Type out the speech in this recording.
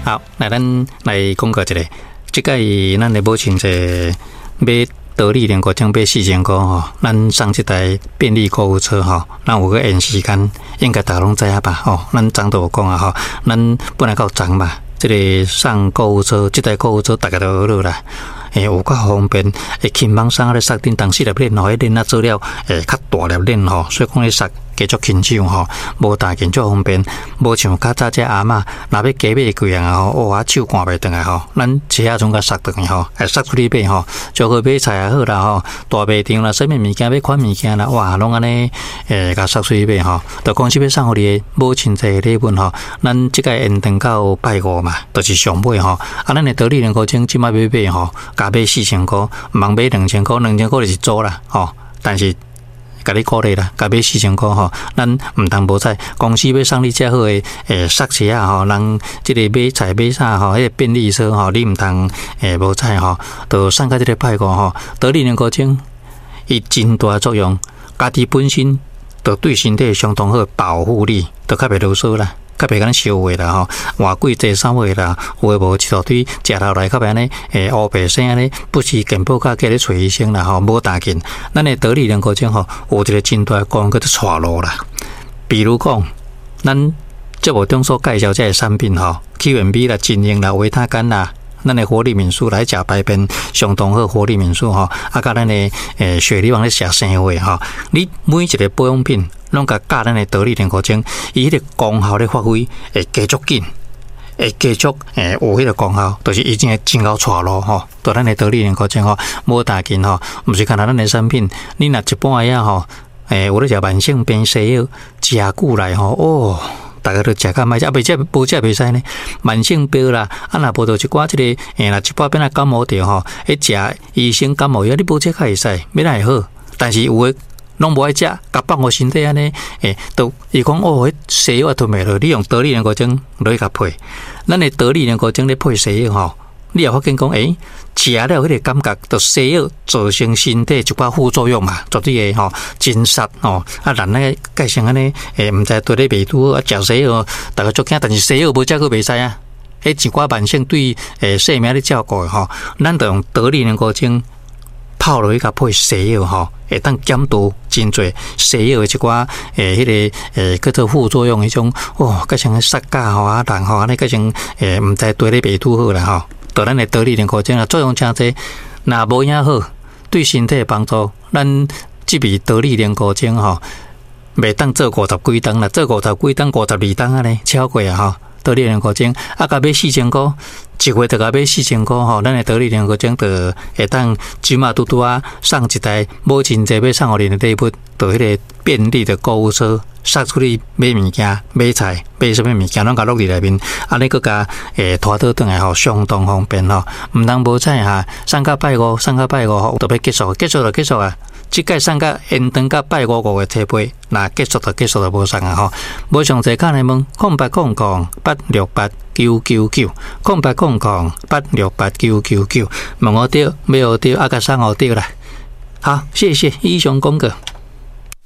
好，來咱來廣告一下，這擺咱的母親節買得力靈菇精買4000箍吼，咱送這台便利購物車吼，咱有個延時間，應該大家攏知影吧？吼，咱昨都有講啊吼，咱本來夠昨嘛，這个送購物車，這台購物車大家都學了啦。欸，有較方便，會輕鬆送咧索頂，當時粒鏈吼，彼鏈仔做了會較大粒鏈吼，所以講咧索加足輕手吼，無大件足方便，無像較早這阿嬤，若欲加買幾樣吼，哇，手趕袂轉來吼，咱車仔總共索轉去吼，會索出去買吼，就好買菜也好啦吼，大賣場啦，啥物物件欲款物件啦，哇，攏按呢，會共索出去買吼，就公司欲送予你的母親節禮物吼，咱這擺延長到拜五嘛，就是上尾吼，啊，咱的得力靈菇精這擺欲買吼，共買4000箍，毋通買2000箍，2000箍就是租啦，吼，但是共你鼓勵啦，共買四千箍吼，咱毋通無彩。公司欲送你遮好的欸捒車仔吼，人這个買菜買啥吼，彼个便利車吼，你毋通欸無彩吼，就送到這个拜五吼，得力靈菇精伊真大作用，家己本身就對身體相當好保護力，就較袂囉嗦啦。較袂敢燒話啦吼，換季濟衫話啦，有的無一大堆，食落來較袂按呢，欸烏白生按呢，不時健保卡叫咧揣醫生啦吼，無大緊。咱的得力靈菇精吼，有一个真大的功能叫做帶路啦。比如講，咱節目中所介紹這个產品吼，Q&B 啦、精英啦、維他乾啦，咱的活力敏素來食排便相當好，活力敏素吼，啊，佮咱的欸雪梨王咧食生火吼，你每一个保養品攏共加咱的得力靈菇精，伊彼个功效咧發揮會加足緊，會加足欸有彼个功效，就是伊真會真𠢕帶路吼，就咱的得力靈菇精吼，無大緊吼，毋是干焦咱的產品，你若一般仔吼，欸有咧食慢性病西藥，食久來吼，哦。逐家都食較歹食，啊袂食無食袂使呢。慢性病啦，啊若無就一寡這个，欸若一擺變啊感冒著吼，彼食醫生感冒藥，你無食較會使，欲哪會好？但是有的攏無愛食，共放予身體按呢，欸，都伊講哦，彼西藥也吞袂落，你用得力靈菇精落去共配，咱的得力靈菇精咧配西藥吼，你也發現講，欸，食了彼个感覺，就西藥造成身體一寡副作用嘛，絕對會吼真殺吼。啊，人咧改成按呢，欸，毋知對咧袂拄好，啊，食西藥，逐家足驚，但是西藥無食閣袂使啊。彼一寡慢性對欸生命咧照顧的吼，咱就用得力靈菇精泡落去共配西藥吼，會當減除真濟西藥的一寡欸彼个欸叫做副作用彼種，哦，改成殺價吼啊人吼按呢改成欸毋知對咧袂拄好啦吼。就咱的得力靈菇精啊，作用誠濟，若無影好，對身體的幫助，咱這味得力靈菇精吼，袂當做五十幾冬啦，做五十幾冬、52冬按呢，超過啊吼。得力靈菇精啊，共買四千箍，一月就共買四千箍吼，咱的得力靈菇精就會當這馬拄拄仔送一台母親節欲送予恁的禮物，就彼个便利的購物車。捒出去買物件、買菜、買啥物物件，攏共落佇內面，按呢閣共欸拖倒轉來吼，相當方便吼。毋通無彩哈，送到拜五，送到拜五吼，就欲結束，結束就結束啊。這擺送到延長到拜五五月初八，若結束就結束就無送啊吼。無詳細敲來問，0800868999，0800868999，問予著，買予著，啊共送予著啦。好，謝謝，以上廣告。